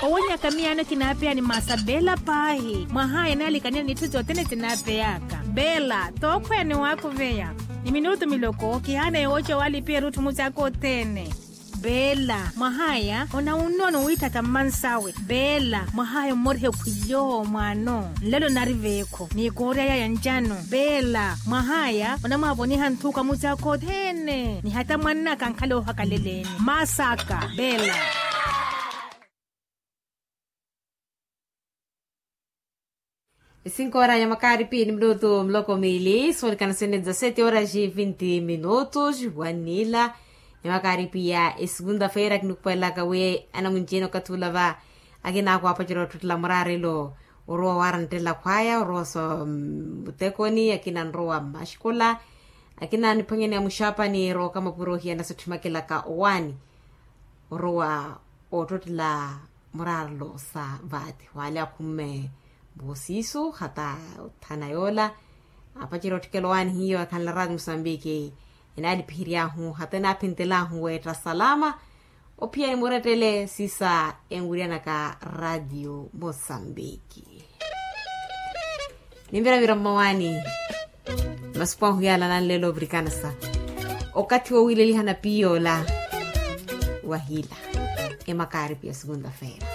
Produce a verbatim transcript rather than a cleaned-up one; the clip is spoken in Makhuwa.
Owonyaka miyaano kinaapeya ni masa bela paahi mwahaya naalikanela n'itthu sothene sinaapeyaka. Bela tookhweya ni waakuveya ni minutu miloko kihaana yooca waalipiya erutthu musi aka othene. Bela mwahaya onawunnono wiithatha mmansawe. Bela mwahaya ommorihe khwiyo mwaano nlelo nari veekho ni koorya yaya ncano. Bela mwahaya onamwaavoniha nthuka musi aka othene ni hata mwannaka ankhala oohakaleleni. Masaka bela. Esinkoora ya makaaripi ni minutu miloko miili soolikana sene dezasete horas e vinti minutos. Wanila ya makaaripi ya esegunda feira kinikupwelaka wi anamunci-ene okathi ula va akina akwaapacela ottottela muraarelo orowa waaranttela khwaya orowa sa muttekoni akina nrowa mmaxikola akina niphwanyani ya muxaapani rowa okamapuro ohiyana sotthimakelaka owaani orowa oottottela muraarelo sa vaati wale akhumme mboosiisu hata othana yoola. Apacerya otthikela owaani hiyo akhanla raati musambiki enaalipihery'ahu hata enaaphintel'ahu weetta salama. Ophiyani murettele siisa enwiryanaka raatiyo musambiki. Nimviravira mmawaani masupu ahu yaala nanleela ovirikanasa okathi wowiileliha na piiy'ola wahila emakaaripi ya segunda-feira.